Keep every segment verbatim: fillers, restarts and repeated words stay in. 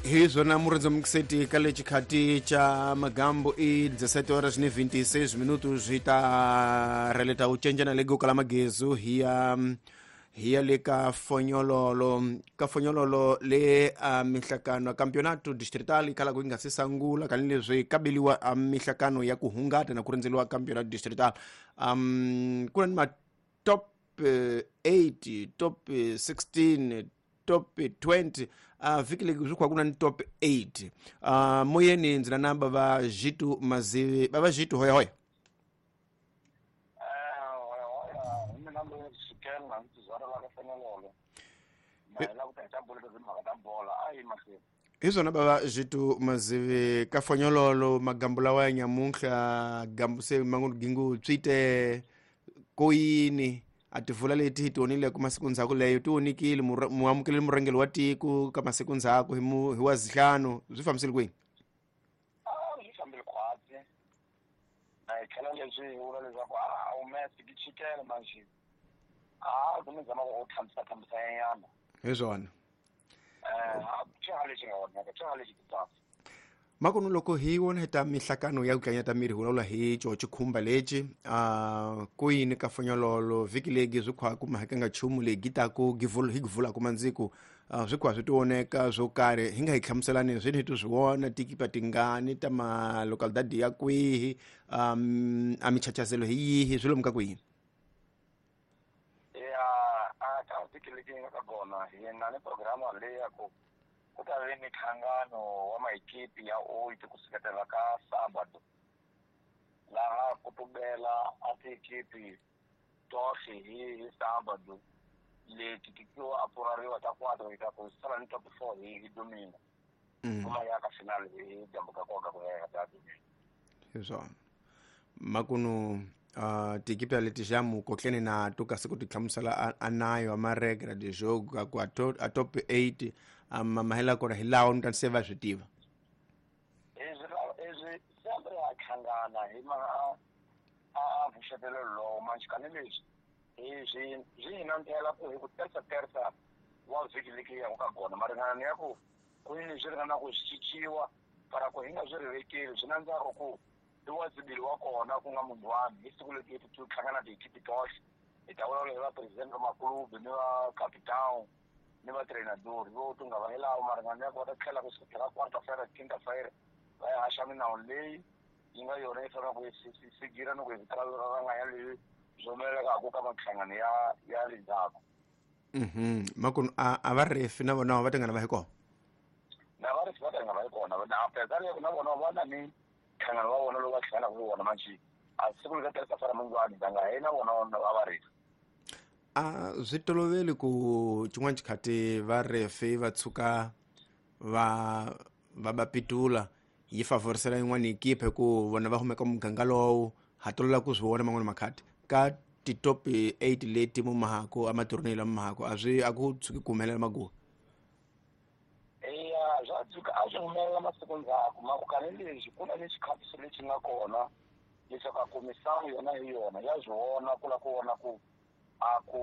Hi swona murindzi ka le xikhati cha magambo i dezessete horas ni vinte e seis minutos hi ta releta u cencana le gokala magezu hi ya hi ya le ka Fonyololo ka Fonyololo le a mihlakano campeonato distrital kala ku nga se sangula ka leswi kabeliwa a mihlakano ya ku hungata na ku rindzeliwa campeonato distrital um ku na ma top eight top sixteen top twenty uh, vhiki leyi swi khwa ku na ni top eight uh, moyeni ndzi na namba va Jitu Mazivi va va Jitu hoya hoya hi swona bava Jitu Mazivi ka Fonyololo magambo lawa ya nyamuntlha gambo se mangu gingu tswite koyini a tivula leti hi tionile ku masiku ndzhaku leyo ti onikile muamukeli murhangeri wa tiko ka masiku ndzhaku hi mu hi wa zihlanu swi fambisile kwini a swi fambile khwatsi na hi tlhela leswi hi vula leswaku a humesi ki chikele manjhe a ku mi zama ku thambisa thambisa nyana hi swona eh a lexi nga onhaka xa lexi titsasa makono loko hi wona hi ta mihlakano ya ku tlanyata miri hi vulavula hi xo xikhumba lexi a ku yini ka Fonyololo vhiki legi swi khwa ku mahaka nga nchumu leyi taku hi givulaka mandziku swi khwa swi tioneka swo karhi hi nga hi hlamuselani swi ni hi swi vona tikipa tingani ta ma localidade ya kwihi um a michachazelo hi yihi swi lomu ka kwihi ya a ka vhiki legi nga ka kona hi na ni programa leyi ya ku ku ta ve mihlangano wa maekipi ya oito ku suketela ka sábado laha ku tubela a tiekipi tohle hi hi sábado leti tikiwa a purariwa ta quatro hi ta ku sala ni top four hi hi domingo kuma ya ka final hi dyambu ka koka ku ya ta domingo hi swona makunu uh, tiekipi leti jamu kotlene na to kasi ku ti hlamusela a nayo a maregra de jogo ku a top eight ama mahela kona hi lawo ni ta se va swi tiva ezwi ezwi sempre a hlangana hi ma a a vuxetelo lowo manjhe kani leswi hi swi hi nandzela ku hi ku tersa tersa wa vhiki leki ya ka kona maringana ya ku ku yini swi ringana ku swi cinciwa para ku hi nga swi rivekeli swi nandzaka ku i wa zibili wa kona ku nga munhu wani hi siku leti ti hlangana tiekipi tohle hi ta vulavula hi va president va maklubu ni va capitão ni va treinador vo tunga va hilawo maringana ya ku va ta tlhela ku sukela quarta-feira quinta-feira va ya haxa minawu leyi yi nga yona yi fanelaka ku yi sigira ni ku hi vitana ranganya leyi swi humelelaka ka minhlangano ya ya le ndzhaku mhm makunu a a va refi na vona va tingana va hi kona na va refi va tingana va hi kona na apeza le na vona va na ni nhlangano wa vona lowu va hlanganaka ku wona manjhe a siku leri tirhisa fara mungwani ndanga hi na vona va va refi a swi toloveli ku xin'wana xikhati va refi va tshuka va va va pitula yi favorisela yin'wana ekipa hi ku vona va humeka muganga lowu ha tolovela ku swi vona man'wana makhati ka ti-top eight leti mumahako a matornei lama mahako a swi a ku tshuki ku humelela maguwa eya swa tshuka a swi humelela masiku ndzhaku makukani lexi ku na ni xikhatiso lexi nga kona leswaku a ku misangu yona hi yona ya swi vona ku la ku vona ku a ku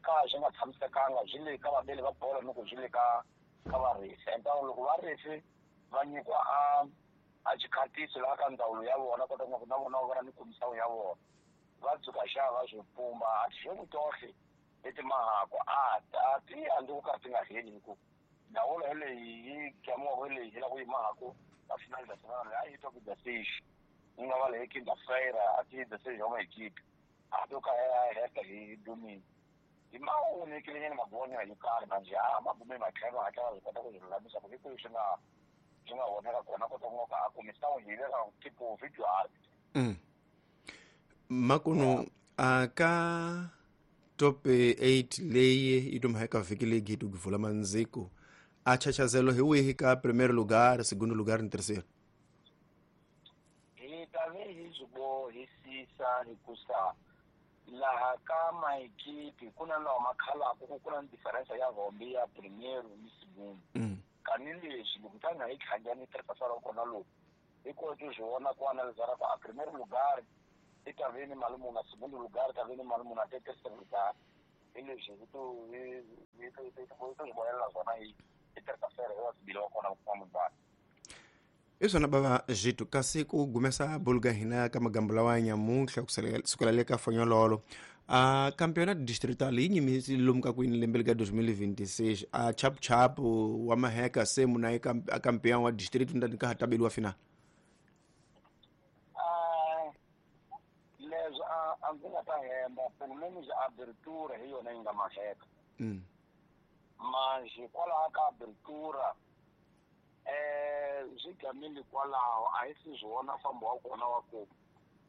ka swi nga tshamisekanga swi le ka vabeli va bolo ni ku swi le ka ka varefi enta loko varefi va nyikiwa a a xikhatiso laha ka ndzawulo ya vona kota ku na vona va na ni komisawu ya vona va dzuka xa va swi pumba a tixoku tohle leti mahako a a ti andzi ku ka ti nga heli hi ku ndawulo leyi yi gamiwaka leyi hi la ku yi mahako ka final da semana a yi top da seis yi nga va leyi quinta-feira a ti da seis wa maekipi a to ka ya heta hi domingo hi ma onekile nyana magonya yo karhi manjhe a magume matlhelo hatla va swi kota ku swi lulamisa ku hi kwihi swi nga swi nga onheka kona kota ku nga ka a kumisawu hi le ka tipo video art makunu a ka top eight leyi yi tuma ka vhiki leyi yi vula mandziku a chachazelo hi wihi ka primeiro lugar segundo lugar ni terceiro hi ta ve hi swi bohisisa hikusa laha ka maekipi ku na lawa ma khalaka ku ku na diferensa ya hombe ya primeiro ni segundo kani leswi loko tanga hi tlhangani tirhisa ra kona lowu hi koti swi vona ku analisara ku a primeiro lugar i ta ve ni mali muni a segundo lugar ta ve ni mali muni a te terceiro lugar hi leswi hi to hi hi to hi to swi vonelela swona hi hi terça-feira wa sibili wa kona ku kuma mubani. I swona bava Zwitu, kasi ku gumesa buluga hina ka magambo lawa ya nyamuntlha ku sukela le ka fonyololo a campeonato distrital yi nyimisi lomu ka kwini lembe lika twenty twenty-six a chapuchapu wa maheka se muna e a campeão wa distrito ndani ka hatabeliwa final. Ah, leswi a a ndzi nga ta hemba pelo menos abertura hi yona yi nga maheka. Mm. Manje kwalaho ka abertura eh swi gamile kwalaho a hi si swi vona fambo wa kona wa ku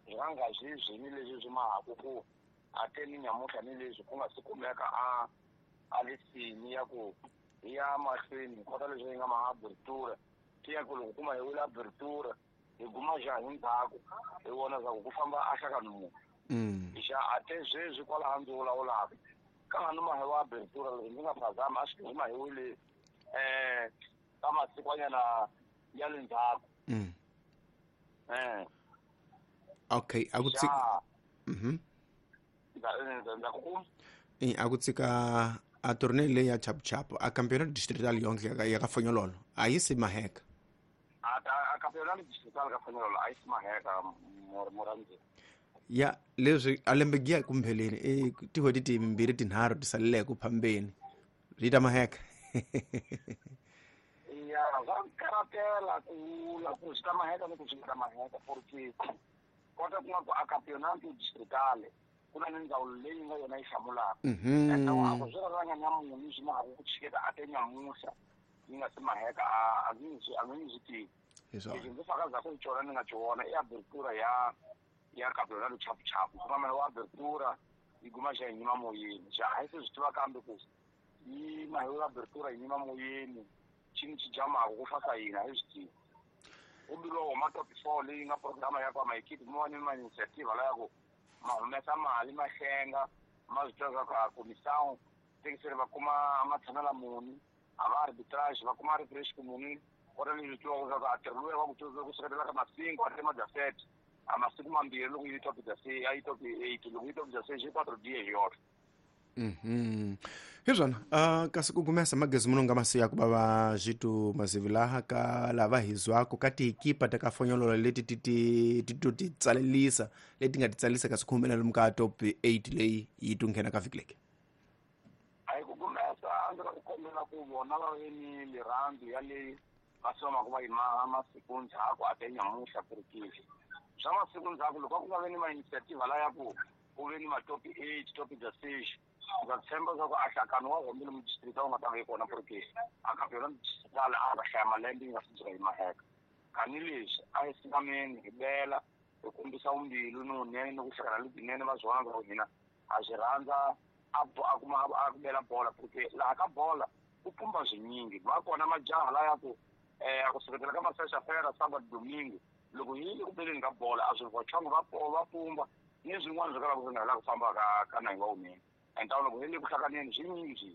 swi nga nga swi swini leswi swi mahaku ku a te ni nyamuntlha ni leswi ku nga si kumeka a a lisini ya ku ya mahlweni kota leswi yi nga ma abertura ti ya ku loko kuma hi wile abertura hi guma xa hi ndzhaku hi vona swa ku ku famba a hlakani munhu. Mm. Xa a te sweswi kwalaho ndzi vulavulaka ka nga ni mahi wa abertura loko ndzi nga phazama a swi huma hi wile eh ka masikwanyana ya le ndzhaku. Mm. Eh. Okay, a ku tsika. Mhm. Ndza ku Eh a ku tsika a tournée leyi ya chapuchapu a campeonato distrital yonke ya ka fonyololo a yi si maheka. A a campeonato distrital ka fonyololo a yi si maheka morandzi. Ya leswi a lembe giya kumpheleni e tihweti timbirhi tinharhu ti saleleke ku phambeni ri ta maheka. Ya va karatela ku vula ku swi ta maheka ni ku swi nga ta maheka porque kota ku nga ku a campeonato distrital ku na ni ndzawulo leyi nga yona yi hlamulaka. Mhm. Ende a ku swi raranga nyamunhu swi mahaku ku tshiketa a te nyamuhla yi nga si maheka a a ndzi a ndzi swi tivi. Hi swona. Lexi ndzi fakazaku hi xona ni nga xi vona i abertura ya ya campeonato chapuchapu ku nga wa abertura yi guma xa yi nyima moyeni xa a hi se swi tiva kambe ku yi mahi wa abertura yi nyima moyeni xini xi jamaku ku fasa yini a hi swi tivi. Ku biwa huma top four leyi nga programa ya kwa maekipi mo va ni ma initiative la ya ku ma humesa mali ma hlenga ma swi tiva swa ku a comissão tekiseri va kuma matshamela muni a va arbitrage va kuma refresh ku muni kota leswi tivaka swa ku a ntirho luya wa ku tiva ku seketela ka masingo a te majasete a masiku mambirhi loko yi top jase a yi top eight loko yi top jase xi quatro dia hi yona. Mhm. Hi swona uh, kasi ku gumesa magezi muno nga masiya ku bava Zwitu Mazivi laha ka lava hi zwako ka tiekipa ta ka fonyololo leti ti ti ti to ti tsalelisa leti nga ti tsalisa kasi ku humelela lomu ka top eight leyi yi to nghena ka vhiki leki. A hi ku gumesa a ndzi ku kombela ku vona va ve ni lirhandzu ya leyi va somaka va yi maha masiku ndzhaku a te nyamuhla ku ri kile swa masiku ndzhaku loko a ku nga ve ni ma-initiative la ya ku ku ve ni ma-top eight top jasix ndza tshemba swa ku a hlakano wa hombe lomu district a wu nga ta va yi kona porque a campeonato distrital a va hlaya malembe yi nga si dzika yi maheka kani leswi a hi singameni hi bela hi kombisa vumbilu ni vunene ni ku hlakana lebyinene va swi vona swa ku hina ha swi rhandza a a kuma a ku bela bola porque laha ka bola ku pumba swinyingi va kona majaha la ya ku eh a ku seketela ka masexafera sábado domingo loko yi le ku beleni ka bola a swi vochongo va va pumba ni swin'wana swi kalaka swi nga la ku famba ka ka nahi wa wunene enta loko hi le ku hlakaneni swinyingi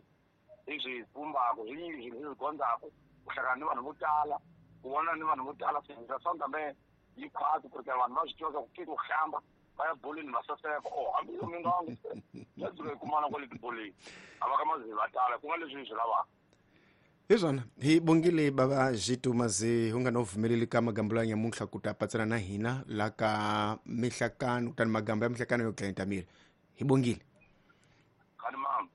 hi swi pumbaka swinyingi swilo hi swi gondzaku ku hlakana ni vanhu vo tala ku vona ni vanhu vo tala swi swa yi khwati ku ri vanhu va swi tiva ku ke ku hlamba va ya boleni va saseka o hambi yo mi nga ya dzika yi kumana kwale tiboleni a va ka mazivi va tala ku nga leswi hi swi lavaka. Hi swona hi bongile bava Zwitu Mazivi u nga no vumeleli ka magambo ya nyamuntlha ku ta patsana na hina la ka mihlakano kutani magambo ya mihlakano yo dlayenta miri hi bongile. Kani mama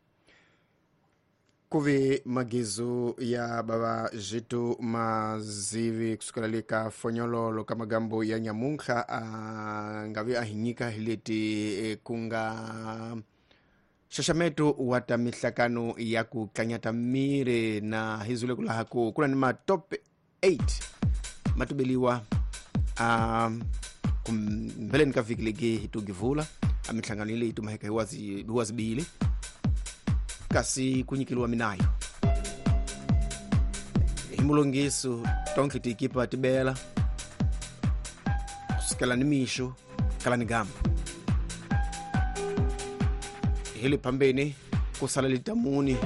ku ve magizu ya bava Zwitu Mazivi kusukela le ka fonyololo ka magambo ya nyamuntlha a nga vi a hi nyika hi leti ku nga xaxameto wa ta mihlakano ya ku tlanyata miri na hi zule ku laha ku ku na ni ma top eight ma tubeliwa a kumbeleni ka vhiki legi hi to givula a mihlangano leyi tumaheka hi wazi hi wazibili kasi ku nyikeliwa minayo hi mulongiso tonke tiekipa tibela kusukela ni mixo kala ni gamba hi le phambeni ku sala litamuni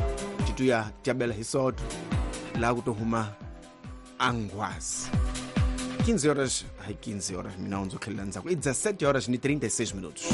tituya tiabela hi soto laha ku to huma angwazi quinze horas, ai quinze horas, mina ndzo tlhelela ndzhaku i dezessete horas ni trinta e seis minutos.